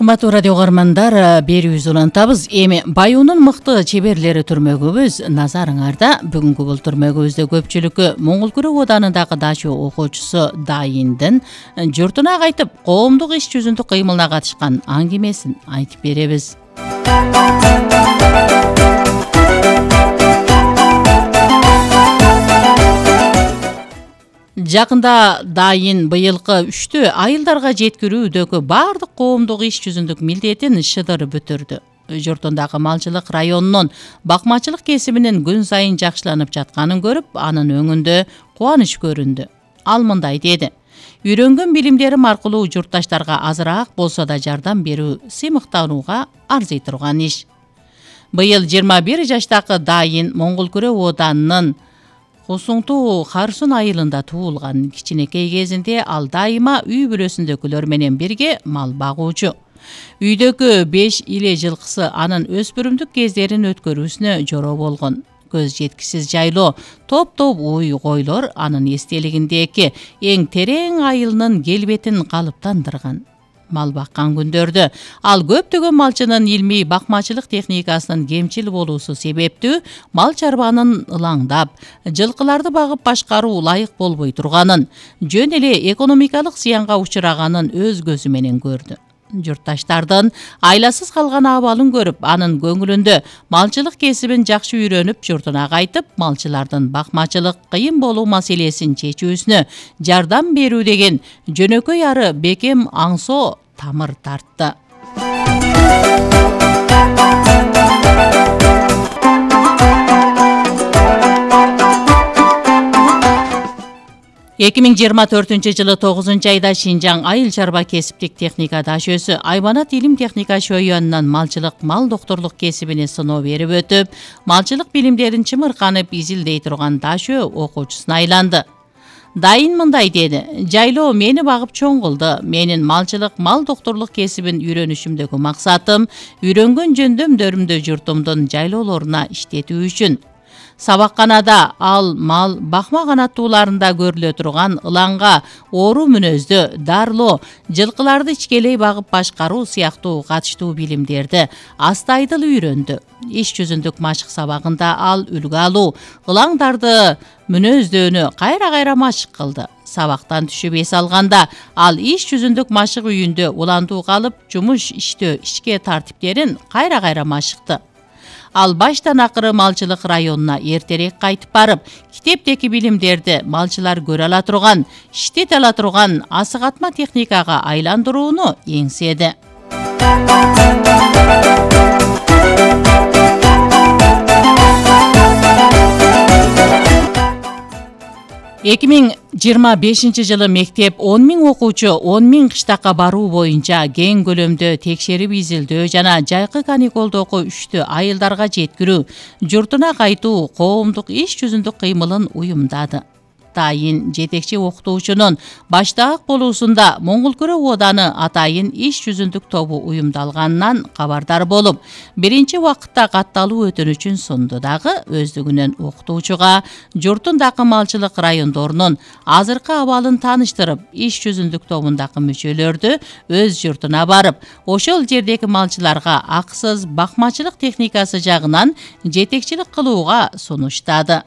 Кымбаттуу радио угармандар, берүүбүз улантабыз. Эми Баюунун мыкты чеберлери түрмөгүбүз назарыңарда. Бүгүнкү бул түрмөгүбүздө көпчүлүккө Моңгол Күрөө Оданындагы дачуу окуучусу Дайындын журтуна кайтып коомдук иш жүзүндө кыймылына катышкан аңгемесин айтып беребиз. Жакында Дайын быйылкы үштү айылдарга жеткирүүдөгү баардык коомдук иш жүзүндүк милдетин шыдыр бүтүрдү. Журтундагы малчылык районунун бакмачылык кесибинин күн сайын жакшыланып жатканын көрүп, анын өңүндө кубаныч көрүндү. Ал мындай деди: "Үйрөнгөн билимдерим аркылуу журтташтарга азыраак болсо да жардам берүү сыймыктанууга арзый турган иш." Быйыл 21 жаштагы Дайын Моңгол Күрөө Оданынын Кусуңтуу Харсун айылында туулган. Кичинекей кезинде ал дайыма үй бүлөсүндөгүлөр менен бирге мал багуучу. Үйдөгү 5 иле жылкысы анын өспүрүмдүк кездерин өткөрүүсүнө жороо болгон. Көз жеткисиз жайлоо, топ-топ уй койлор анын эстелигиндеги эң терең айылынын келбетин калыптандырган. Мал баккан күндөрдө ал көптөгөн малчынын илмий бакмачылык техникасынын кемчил болуусу себептүү мал чарбанын ылаңдап, жылкыларды багып башкаруу ылайык болбой турганын, жөн эле экономикалык зыянга учураганын өз көзү менен көрдү. Журтташтардын айласыз калган абалын көрүп, анын көңүлүндө малчылык кесибин жакшы үйрөнүп, журтуна кайтып, малчылардын бакмачылык кыйын болуу маселесин чечүүсүнө жардам берүү деген жөнөкөй ары бекем аңсоо тамыр тартты. 2024-жылы 9 айда Шинжаң айыл чарба кесиптик техника дашөөсү Айбанат илим техника шөйөнүнөн малчылык мал докторлук кесибине сыноо берип өтүп, малчылык билимдерин чымырканып изилдей турган дашөө окуучусуна айланды. Дайын мындай деди: "Жайлоо мени багып чоң кылды. Менин малчылык мал докторлук кесибин үйрөнүшүмдөгү максатым үйрөнгөн жөндөмдөрүмдү журтумдун жайлоолоруна иштетүү үчүн. Сабакканада ал мал бакма канаттууларында көрүлө турган ылаңга, оору мүнөздө дарылоо, жылкыларды ичкелей багып башкаруу сыяктуу катыштуу билимдерди астайдыл үйрөндү. Иш жүзүндүк машык сабагында ал үлгү алуу, ылаңдарды мүнөздөөнү кайра-кайра машык кылды. Сабактан түшүп эс алганда ал иш жүзүндүк машык үйүндө улантуу калып, жумуш иштөө ишке тартиптерин кайра-кайра машыкты. Ал баштан акыры малчылык районуна эртерээк кайтып барып, китептеги билимдерди малчылар көрө ала турган, иштете ала турган асыгатма техникага айландырууну эңседи. 2025-жылы мектеп 10 000 окуучу 10 000 кыштакка баруу боюнча кең көлөмдө текшерип изилдөө жана жайкы каникулдогу үштү айылдарга жеткирүү, журтуна кайтуу коомдук иш жүзүндүк кыймылын уюмдады. Дайын жетекчи окутуучунун баштаак болуусунда Моңгол Күрөө Оданы атайын иш жүзүндүк тобу уюмдалганынан кабардар болуп, биринчи убакытта катталуу өтүнүчүн сунду дагы өздүгүнөн окутуучуга журтундагы малчылык райондорунун азыркы абалын тааныштырып, иш жүзүндүк тобундагы мүчөлөрдү өз журтуна барып, ошол жердеги малчыларга акысыз бакмачылык техникасы жагынан жетекчилик кылууга сунуштады.